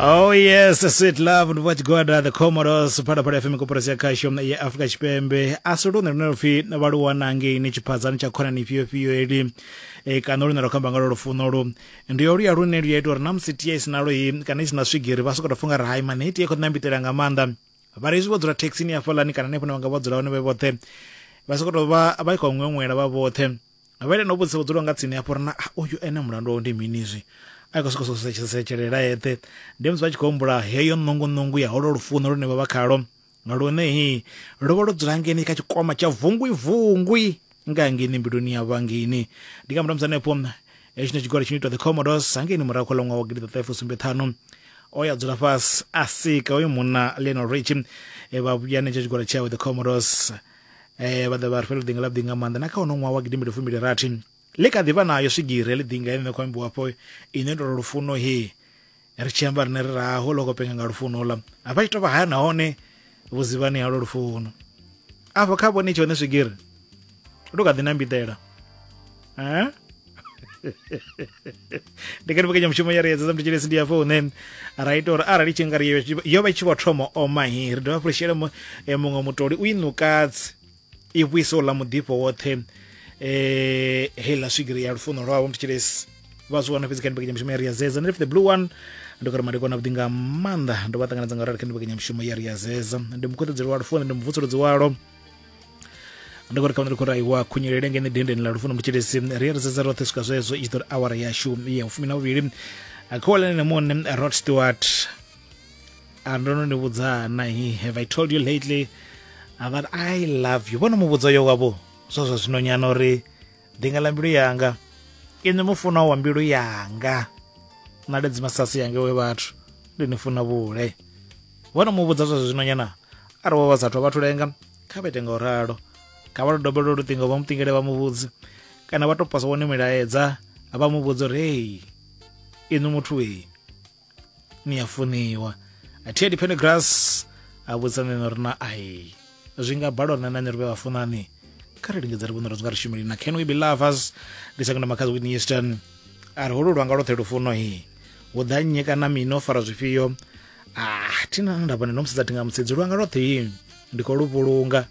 Oh yes, sweet love ndi vha the Commodores Phalaphala FM koporasi ya khasho ya Afrika Tshipembe a si lune lune lupfi vha lu wana ngeini tshiphadzani tsha khonani ifhio ifhio eli e, kana lune lwa khou amba nga lwo lufuno lu ndi yo luya lune lu ya ita uri na musi tie i si nalo i kana i si na swigiri vha sokou tou funga ri hai mani hei tie khou ṋambitela nga maanḓa vha ri hezwi vho dzula thekhisini hafhaḽani kana hanefho hune vha nga vha dzula hone vhe vhoṱhe vha sokou tou vha vha khou ṅweṅwela vha vhoṱhe vha ita na u vhudzisa vho dzulaho nga tsini hafho uri na ah, uyu ene mulandu wawe ndi mini izwi a khou sokou setshelela eṱhe ndi musi vha tshi khou humbula heyo ṋunguṋungu ya holo lufuno lune vha vha khalo lune hi lwo vha lwo dzula ngeni kha tshikwama tsha vungwi vungwi nga ngeni mbiluni ya vhangeni ndi nga murahu musi hanefho hetsho tshigwada tshi no itwa the Commodores hangeini murahu kha ḽa ṅwaha wa gidiḓaṱahe fusumbe ṱhanu o ya dzula fhasi a sika uyu munna Lionel Richie vha vhuya netsho tshigwada tshawe the Commodores vha ḓa vha ri fhela ḓinga ḽa vhuḓi nga maanḓa na kha hono ṅwaha wa gidimbili fumbili rathi ḽi kha ḓi vha nayo swigiri heḽi ḓinga ine khou ambiwa afho ine ndo lufuno he ri tshi amba rine ri raho ḽo khou penga nga lufuno ḽa vha tshi tovha haya nahone vhuzivhani halwo lufuno afho kha vhone tshone swigiri lu kha ḓi nambiḓela eh? Ndi kha mbekanyamushumo ya ri edza mthetshelesi ndi hafho hune ra ita uri arali tshi nga ri yo vha i tshi vho thoma oma hi ri dovha hafhu ri shele muṅwe mutoli u i ṋukadze i vhuise uḽa muḓifho woṱhe heiḽa swigiri ya lufuno lwavho mthetshelesi vha zwi wana fhedzi kha mbekanyamushumo ya ri ya zeza ndi the blue one ndi khou ri madekwana avhuḓi nga maanḓa ndo vha ṱanganedza nga rali kha mbekanyamushumo ya ri ya zeza ndi mukhuṱedzeli wa lufuno ndi muvutsuludzi walo ndi khou ri kha ndi khou raiwa khunyelele ngene dendeni ḽa lufuno mutshilisi ri ri sedza roṱhe swika zwezwo i tshi ḓo ri awara yashu ya fumi na vhuvhili khowalene na muṋe Rod Stewart a ndo no ni vhudza na he have I told you lately that I love you vhono mu vhudza yo wavho zwa zwa zwino nyana uri ḓinga ḽa mbilu yanga inwi mufunwa wa mbilu yanga ṋaledzi masasi yange we vhathu ndi ni funa vhule vhono mu vhudza zwa zwino nyana arali vho vha sathu vhathu lenga kha vha ite nga u ralo kha vha dobele luṱingo vha muṱingele vha muvhudze kana vha to posa wone milaedza vha mu vhudza uri hei inwi muthu ei ni a funiwa Teddy Pendergrass a vhudza nṋe uri na ai zwi nga balwa na nṋe ri vhe vhafunani kha ri lingedza ri vhone uri zwi nga ri shumeli na can we be lovers ndi second Makhadzi Whitney Houston a ri holu lwanga lwoṱhe lufuno hi hu ḓa nnyi kana mini o fara zwifhio ah thina nda vhona no musedza thinga musedzi lwanga lwoṱhe hi ndi khou lu vhulunga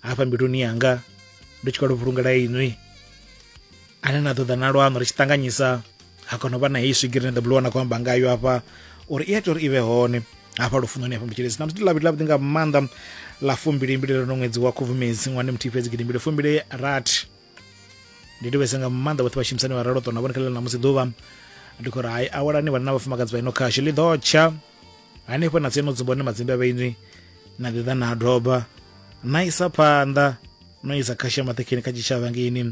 hafha mbiluni yanga ndi tshi khou lu vhulungela inwi ane na ṱoḓa na lwaṋu ri tshi ṱanganyisa ha kona u vha na heyi swigiri ine the blue one a khou amba ngayo hafha uri i a ita uri i vhe hone hafha lufunoni hafha mutshilesi na musi ndi lavhili lavhuḓi nga maanḓa ḽa fumbilimbili ḽo ṅwedzi wa khubvumedzi ṅwani muthihi fhedzi gidimbili fumbili rathi ndi livhese nga maanḓa vhoṱhe vhashumisani vha ralo ṱona vhone kha ḽa ṋamusi ḓuvha ndi khou ri hai awelani vhanna na vhafumakadzi vha ino khasho ḽi ḓo tsha hanefho na tseno dzumba hone madzimbe a vhainwi na ḓi ḓa na doba na isa phanḓa no isa khasho ya maṱekheni kha tshitshavha ngeini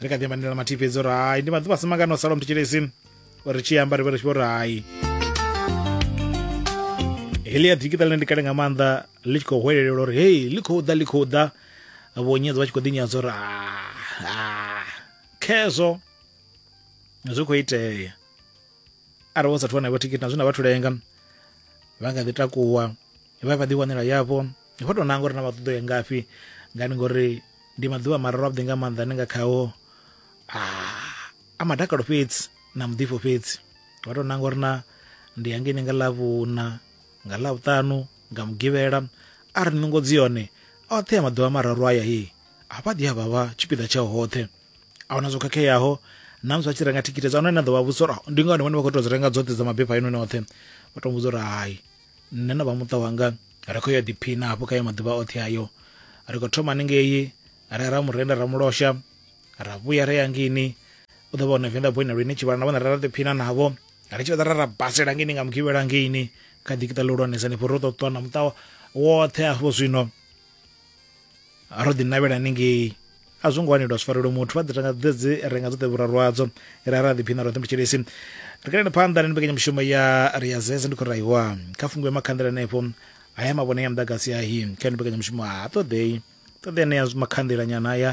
ri kha ḓi amba ndela mathihi fhedzi uri hai ndi maḓuvha a si mangana o sala mthetshelesi uri tshi amba ri vhe ri tshi vho ri hai heḽi ya digital ndi kale nga maanḓa ḽi tshi khou hwelelelwa uri hei ḽi khou ḓa ḽi khou ḓa vho nyadza vha tshi khou ḓinyadza uri ah, khezwo zwi khou itea arali wo sathu wana vho thikhithi na zwine vha thulenga vha nga ḓi takuwa vha vha ḓiwanela yavho vho tou nanga uri na vha ṱoḓo ya ngafhi ngani ngori ndi maḓuvha mararu avhuḓi nga maanḓa ane nga khao a madakalo fhedzi na muḓifho fhedzi vha tou nanga uri na ndi hangeini nga ḽavhuna nga ḽavhuṱanu nga mugivhela a ri nungo dzi yone oṱhe ya maḓuvha mararu aya he a vha ḓi a vha vha tshipiḓa tshao hoṱhe a huna zwo khakheaho na musi vha tshi renga thikhithi dza hone na ḓo vha vhudza uri ndi ngani vhone vha khou tou dzi renga dzoṱhe dza mabepha inoni oṱhe vha tou vhudza uri hai nṋe na vha muṱa wanga ri khou ya ḓiphina hafho kha ya maḓuvha oṱhe ayo ri khou thoma haningei ra ra murenda ra mulosha ra vhuya ra ya ngini u ḓo vha hone venḓa boy na lwini tshivhala na vhone ra ra ḓiphina navho ri tshi fhedza ra ra basela ngini nga mugivhela ngeini kha ḓikiṱa ḽihulwanesa hanefho ro ṱo ṱwa na muṱa woṱhe afho zwino ro ḓi navhela haningei a zwo ngo wanelwa zwifarelo muthu vha ḓi renga dzi renga dzoṱhe vhuraru hadzo ra ra ḓiphina roṱhe mutshilesi ri kaleni phanḓa ni mbekanyamushumo ya ri ya zeze ndi khou raiwa kha fungiwe makhanḓela hanefho haya mavhone ya muḓagasi ahi kha mbekanyamushumo ha ṱoḓei ṱoḓea nea makhanḓela nyana aya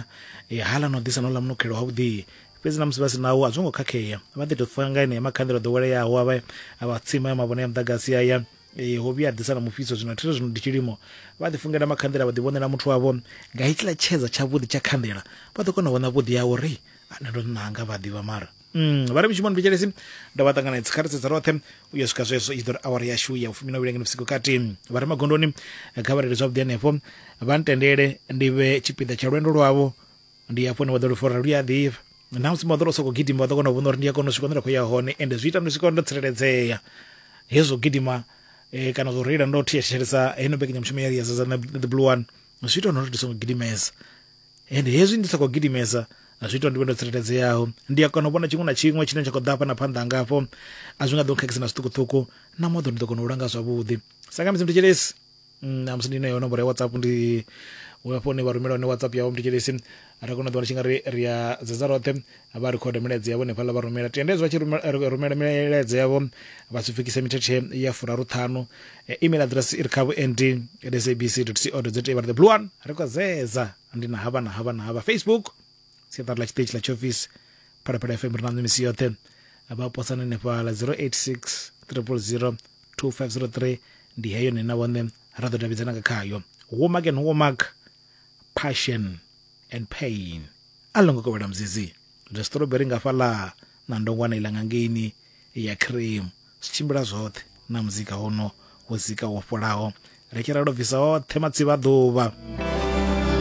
e, hala no ḓisa no ḽa munukhelo wavhuḓi fhedzi na musi vha si nawo a zwo ngo khakhea vha ḓi tou funga enea makhanḓela o ḓoweleaho a vha a vha tsima ya mavhone ya muḓagasi aya e, ho vhuya a ḓisa na mufhiso zwino thiri zwino ndi tshilimo vha ḓi fungela makhanḓela vha ḓi vhonela muthu wavho nga hetshiḽa tshedza tshavhuḓi tsha khanḓela vha ḓo kona u vhona vhuḓi hawo ri ane ndo nanga vha ḓivha mara. Vha ri mushumoni thetshelesi ndo vha ṱanganedza kha ri sedza roṱhe u ya swika zwezwo i ḓo ri awara yashu ya vhufumi na vhuvhili ngeno vhusiku kati. Vha re magondoni kha vha reile zwavhuḓi hanefho, vha ntendele ndi vhe tshipiḓa tsha lwendo lwavho. Ndi hafho hune vha ḓo lufora lu a ḓifha na musi vha ḓo sokou gidima vha ḓo kona u vhona uri ndi a kona u swika hune nda khou ya hone, ende zwi ita ndi swika ndo tsireledzea. Hezwo gidima kana zwo reila ndo thetshelesa heino mbekanyamushumo ya Ria na The Blue One zwi ita uri ndi songo gidimesa, ende hezwi ndi sa khou gidimesa zwi ita uri ndi vhe ndo tsireledzeaho. Ndi a kona u vhona tshiṅwe na tshiṅwe tshine tsha khou ḓa hafha na phanḓa hanga hafho, a zwi nga ḓo nkhakhisa na zwiṱukuṱuku, na moḓoro ndi ḓo kona u langa zwavhuḓi. Sa nga musi mthetshelesi na musi ndi nayo nomboro ya WhatsApp, ndi hafho hune vha rumela hone WhatsApp yavho mthetshelesi, ra kona u ḓiwana tshi nga ri ri a dzedza roṱhe vha rikhoda milaedza yavho hanefhaḽa vha rumela. Tende hezwi vha tshi rumela milaedza yavho vha si pfukise mithethe ya 35. Email address i ri kha vhuendi at sabc co za, vha ri The Blue One ri khou zedza ndi na havha na havha na havha. Facebook siaṱari ḽa tshiṱitshi ḽa tshiofisi Phalaphala FM ri na misi yoṱhe, vha posana hanefhaḽa 086 000 2503 ndi heyo nṋe na vhone ra ḓo davhidzana nga khayo. Womack and Womack, Passion and Pain. A ḽo ngo kovhela muzizi zwa strawberry nga fhaḽa na ndongwana iḽa nga ngeini ya cream, zwi tshimbila zwoṱhe na muzika hono wo zika wo fholaho, ri tshi ralo bvisa oṱhe matsivha a ḓuvha.